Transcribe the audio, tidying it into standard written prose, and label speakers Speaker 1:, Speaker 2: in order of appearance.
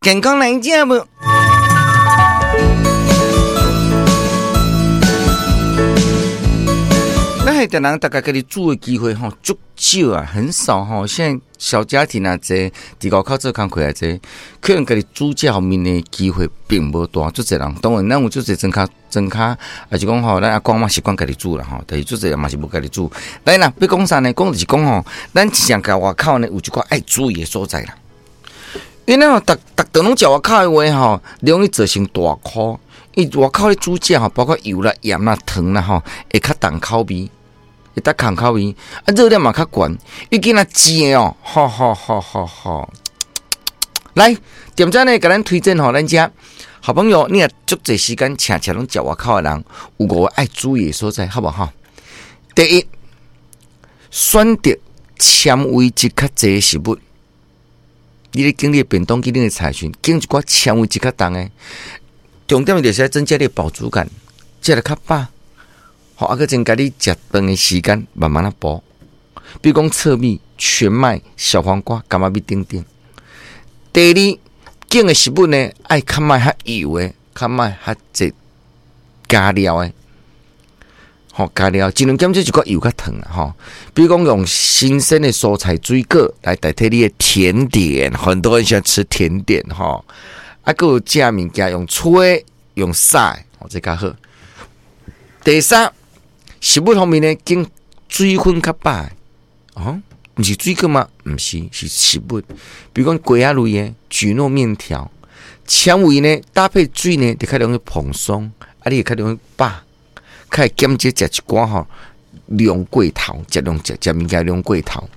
Speaker 1: 健康來食無？咱現代人大家家己煮的機會吼，足少啊，很少吼。現在小家庭啊濟，佇外口做工課也濟，可能家己煮食方面的機會並無大。足濟人，當然咱有足濟莊跤莊跤，抑是講吼，咱阿公嘛習慣家己煮啦吼，但是足濟人嘛是無家己煮。來啦，欲講啥呢？講就是講吼，咱真正共外口呢有一寡愛注意的所在啦。因為吼，逐逐頓攏食外口的話吼，容易造成大箍。伊外口咧煮食吼，包括油啦、鹽啦、糖啦吼，會較重口味，會較重口味，啊熱量嘛較懸。伊今仔煎的哦，好好好好好。來，店長呢，共咱推薦吼，咱遮好朋友，你若足濟時間請請攏食外口的人，有五個愛注意的所在，好無吼？第一，選擇纖維質較濟的食物。你咧揀你的便當，揀你的菜時，揀一寡纖維質較重的。重點就是愛增加你的飽足感，食得較飽，吼，啊，閣增加你食飯的時間，慢慢仔補。比如講糙米、全麥、小黃瓜、柑仔蜜等等。第二，揀的食物呢，愛較莫較油的，較莫較濟加料的。吼，加料盡量減少一寡油佮糖啦，吼。比如講用新鮮的蔬菜水果來代替你的甜點，很多人喜歡吃甜點，吼。啊，閣有食物件用吹用曬，吼，這較好。第三，食物方面呢，揀水分較飽的，哦，毋是水果嗎？毋是，是食物。比如講粿仔類的，蒟蒻麵條，纖維呢搭配水呢，就較容易蓬鬆，啊，你會較容易飽。較會減少食一寡吼量過頭，食量食食物件量過頭。